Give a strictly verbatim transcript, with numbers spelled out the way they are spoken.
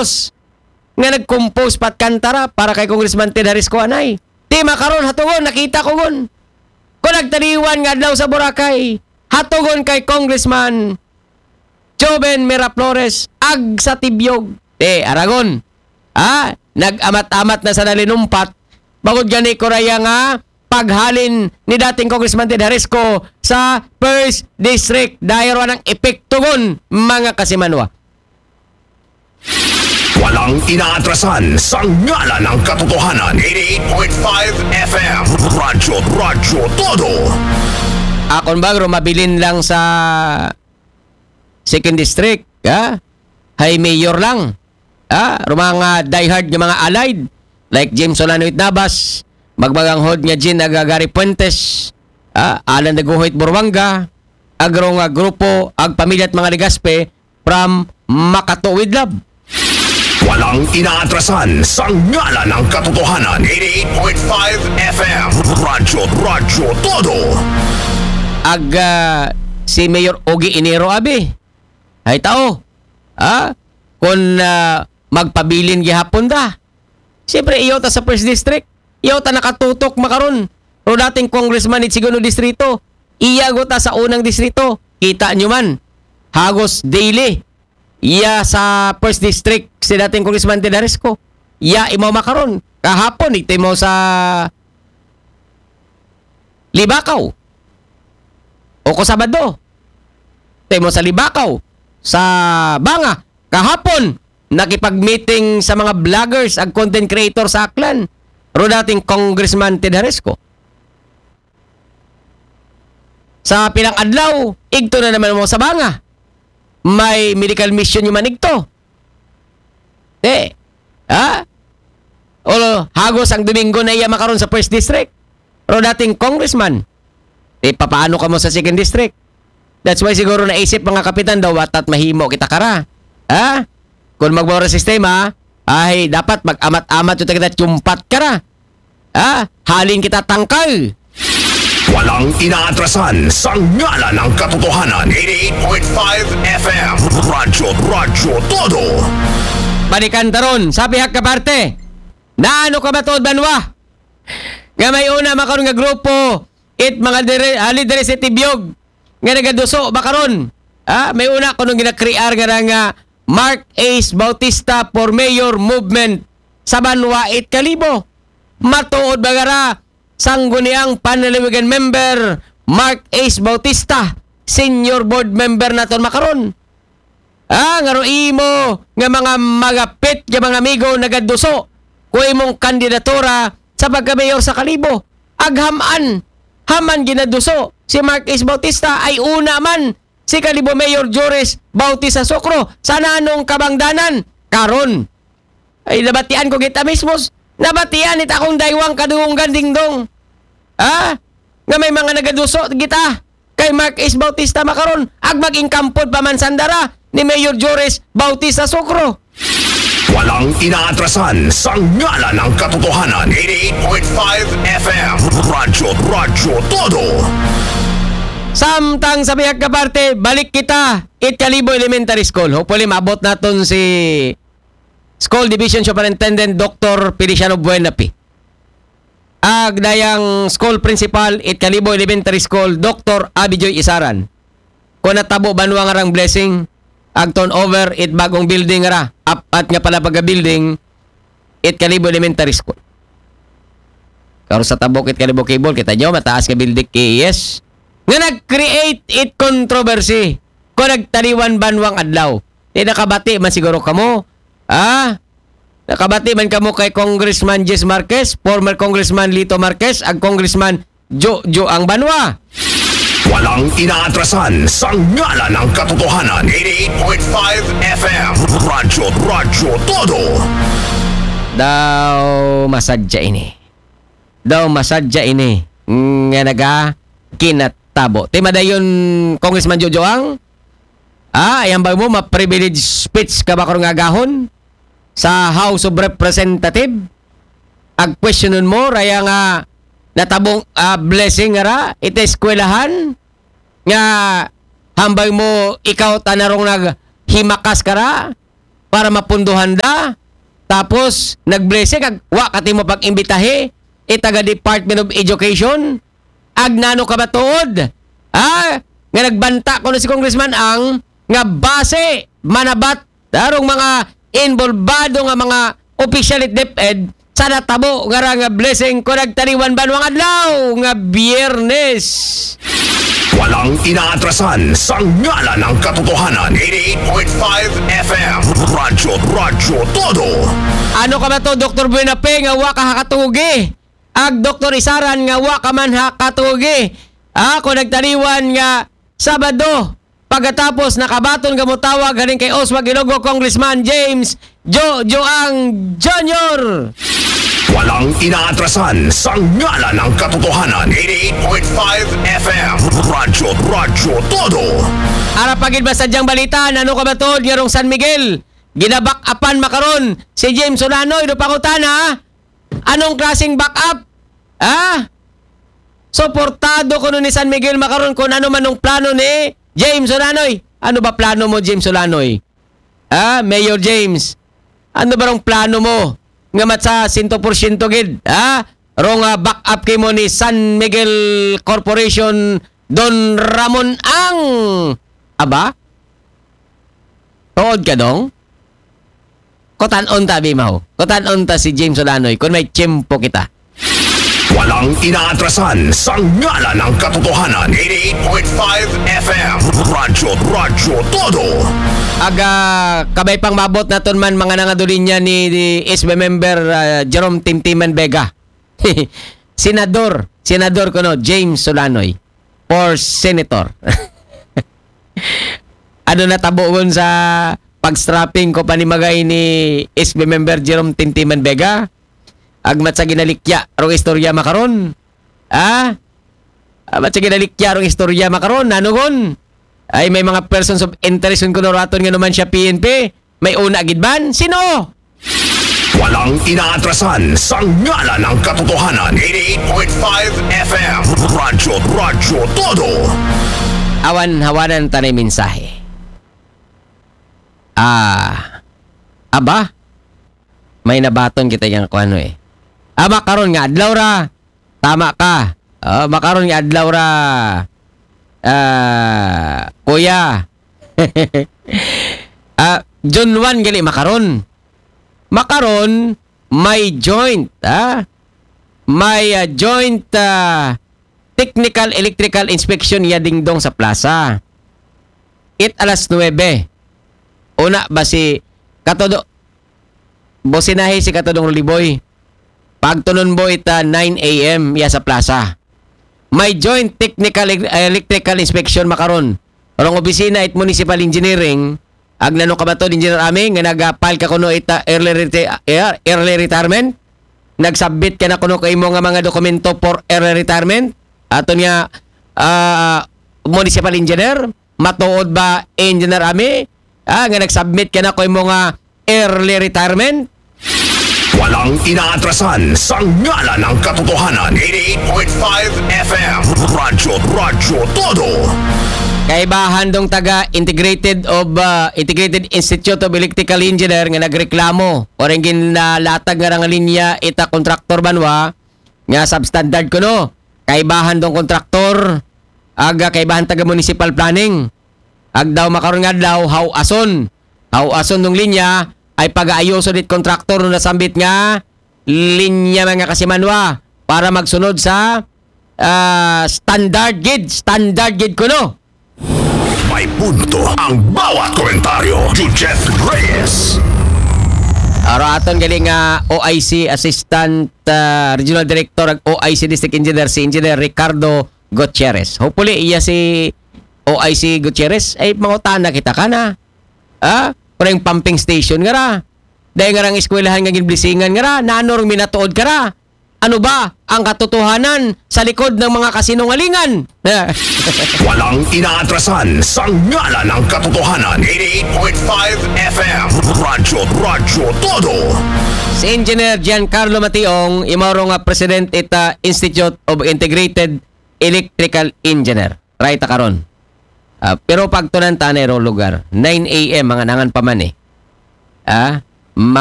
Miraflores nga nag-compose pat kanta ra para kay Congressman Ted Harisco anay. Ti makaron hatugon, nakita ko gon. Ko nagtaliwan nga adlaw sa Boracay, hatugon kay Congressman Joven Miraflores, ag sa Tibiog. Te, aragon. Ha? Nag-amat-amat na sa nalinumpat. Bangod gani ko raya nga paghalin ni dating Congressman Ted Harisco sa First District. Dahil wa ng epekto gon, mga kasimanwa. Walang inaatrasan sa ngalan ng katotohanan. Eighty-eight point five F M. Radyo, Radyo Todo. Akon bang rumabilin lang sa Second District, ha? Hay mayor lang. Ha? Rumanga diehard nga mga allied, like James Solano Itnabas, magmaganghod nga Jean Agagari Puentes, ha? Alan Daguhoy Burwanga, agro nga grupo, ag pamilya at mga Legaspi, from Makatuwid Lab. Walang inaatrasan sa ngalan ng katotohanan. Eighty-eight point five F M. Radyo, Radyo Todo. Ag ah, si Mayor Ogie Enero abi. Hay tao. Ha? Kung ah, magpabilin gihapon da. Siyempre, iyo ta sa First District. Iyo ta nakatutok makaron. Pero dating congressman it segundo distrito. Iya go ta sa unang distrito. Kita nyo man. Hagos daily. Iya sa First District si dating Congressman Ted Harisco. Iya imaw makaron. Kahapon, ito imaw sa Libakaw. O ko Sabado. Ito imaw sa Libakaw. Sa Banga. Kahapon, nakipag-meeting sa mga vloggers ag content creator sa Aklan. Pero dating Congressman Ted Harisco. Sa pilang adlaw, igto na naman mo sa Banga. May medical mission yung manigto. Eh, ha? O hagos ang Domingo na iya makaron sa First District. Pero dating congressman, eh, papaano ka mo sa Second District? That's why siguro naisip mga kapitan daw, watat mahimo kita kara. Ha? Kung magbawa sistema, ay dapat mag-amat-amat yung kita tiyumpat kara. Ha? Halin kita tangkal. Walang inaatrasan sa ngalan ng katotohanan. Eighty-eight point five F M. Radyo, Radyo Todo. Balikan taron, sa pihak ka parte. Naano ka ba to, Banwa? Nga may una makaroon nga grupo, it mga dire, ah, lideres it Tibiog, nga nagaduso makaron. Ha? May una ko nung ginakriar nga nga Mark Ace Bautista for Mayor Movement sa Banwa it Kalibo. Matuod ba gara Sangguniang Panlalawigan member Mark Ace Bautista, senior board member naton makaron. Ah, nga ro imo nga mga magapit nga mga amigo nagaduso ko imong kandidatura sa pagka-mayor sa Kalibo. Aghaman, haman ginaduso si Mark Ace Bautista ay una man si Kalibo Mayor Joris Bautista Sokro sa nanong kabangdanan karon. Ay, nabatian ko kita mismos. Nabatian it akong daywang kadunggan dingdong. Ha? Nga may mga nagaduso kita kay Mark Ace Bautista makaron ag mag-ingkampod pa man sandara ni Mayor Joris Bautista Sokro. Walang inaatrasan sa ngalan ng katotohanan. Eighty-eight point five F M. Radyo, Radyo Todo. Samtang sa bihag ka parte, balik kita it Kalibo Elementary School. Hopefully, maabot naton si School Division Superintendent Doctor Feliciano Buenapi. Ag dayang school principal it Kalibo Elementary School, Doctor Abijoy Isaran. Kung natabo banwa nga rang blessing, ag turnover it bagong building ra, apat nga pala pagka-building, it Kalibo Elementary School. Karo sa tabok it Kalibo Cable, kita nyo, mataas nga building K E S. Nga nag-create it controversy. Kung nagtaliwan banwang adlaw. Di nakabati man siguro kamo. Ah? Nakabati man kamo kay Congressman Jis Marquez, former Congressman Lito Marquez, ag Congressman Jojo ang banwa. Walang inaatrasan sa ngalan ng katotohanan. Eighty-eight point five F M. Radyo, Radyo Todo. Daw masadya ini. Daw masadya ini. Nga naga kinatabo. Ti madayon Congressman Jojo ang, ah, ayang ba mo, ma-privilege speech ka ba karong agahon sa House of Representative? Ag questionon mo, raya nga natabong ah, blessing nga ra, iti eskwelahan, nga hambay mo ikaw tanarong naghimakas ka ra, para mapunduhan da. Tapos, nag-blessing, ag, wa ka timo pag-imbitahi, itaga Department of Education, ag nano ka ba tuod? Ha? Nga nagbanta kuno si Congressman Ang, nga base, manabat, darong mga involvado nga mga opisyal it DepEd, sa natabo nga ra nga blessing ko nagtaniwan banwang adlaw nga Biyernes. Walang inaatrasan sa ngalan ng katotohanan. eighty-eight point five F M. Radyo, Radyo Todo. Ano ka ba to, Doktor Buenape, nga wa ka hakatugi? Ag Doktor Isaran nga wa ka man hakatugi? Ako nagtaniwan nga Sabado, pagkatapos nakabaton nga mutawag galing kay Oswald Ilogo, Congressman James Jojo Ang Junior. Walang inaatrasan sa ngalan ng katotohanan. eighty-eight point five F M. Radyo, Radyo Todo. Ara pagid ba sadyang balita, nano ka ba tuod nga rong San Miguel? Ginaback upan makaron si James Olanoy, do pangutana, anong klaseng back up? Ha? Suportado kuno ni San Miguel makaron kung ano man ang plano ni James Olanoy. Ano ba plano mo, James Olanoy? Ha? Mayor James, ano ba ang plano mo? Nga matsa sento porsyento gid, ha? Rong, ah, back up kimo ni San Miguel Corporation, Don Ramon Ang. Aba? Tuod ka, dong? Kutan-on ta, Bimaw. Kutan-on ta si James Olanoy kung may tiyempo kita. Walang inaatrasan sa ngalan ng katotohanan. eighty-eight point five F M. Radyo, Radyo Todo. Aga, kabay pang mabot naton man mga nangadulinya ni, ni S B member, ah, Jerome Timtiman Vega. Senador, Senador kuno, James Olanoy. For Senator. Ano natabo gon sa pag-strapping ko panimagay ni S B member Jerome Timtiman Vega? Agmat sa ginalikya rong istorya makaron. Ah? Agmat sa ginalikya rong istorya makaron. Nano gon? Ay, may mga persons of interest kuno raton nga naman siya P N P. May una gid man? Sino? Walang inaatrasan sa ngalan ng katotohanan. eighty-eight point five F M. Radyo, Radyo Todo. Awan hawanan tanay mensahe. Ah, aba? May nabaton kita yang kuano eh. Ah, makaron nga adlaw ra. Tama ka. Ah, makaron nga adlaw ra. Ah, kuya. Ah, June one gali makaron. Makaron may joint, ah. May, ah, joint, ah, technical electrical inspection ya dingdong sa plaza. It alas nuebe. Una ba si Katodo, bosinahe si Katodong Ruliboy. Pagtunon bo ita nine A M ya sa plaza. May joint technical e-, electrical inspection makaron. Rong opisina it municipal engineering, ag nano ka ba to, Engineer Ami, nga nag-file ka kuno ita early, reti-, er-, early retirement? Nag-submit ka na kuno ko imo nga mga dokumento for early retirement? Aton nga, ah, municipal engineer, matuod ba, Engineer Ami? Ah, nga nag-submit ka na ko imo nga early retirement? Walang inaatrasan sa ngalan ng katotohanan. eighty-eight point five F M. Radyo, Radyo Todo. Kaibahan dong taga Integrated of, ah, Integrated Institute of Electrical Engineer nga nagreklamo. Oreng ginalatag nga rang linya ita kontraktor banwa nga substandard kuno. Kaibahan dong kontraktor, aga kaibahan taga municipal planning. Agdaw makaron nga adlaw, hawason. Hawason dong linya, ay pag-aayuso dit kontraktor no nasambit nga linya mga kasimanwa para magsunod sa, ah, standard gid, standard gid kuno. May punto ang bawat komentaryo. Jujet Reyes. Aro aton gali nga O I C Assistant, ah, Regional Director ag O I C District Engineer si Engineer Ricardo Gutierrez. Hopefully iya si O I C Gutierrez ay mangutana kita kana. Ah, parang pumping station nga ra. Dahil nga rang eskwelahan nga ginblisingan nga ra, nanor minatuod ka ra. Ano ba ang katotohanan sa likod ng mga kasinungalingan? Walang inaatrasan sa ngalan ng katotohanan. eighty-eight point five F M. Radyo, Radyo Todo. Si Engineer Giancarlo Mationg, imawro nga President ita Institute of Integrated Electrical Engineer. Right karon. Ah, pero pagtunan tanay ro lugar, nine A M mga nangan pa man eh. Ah,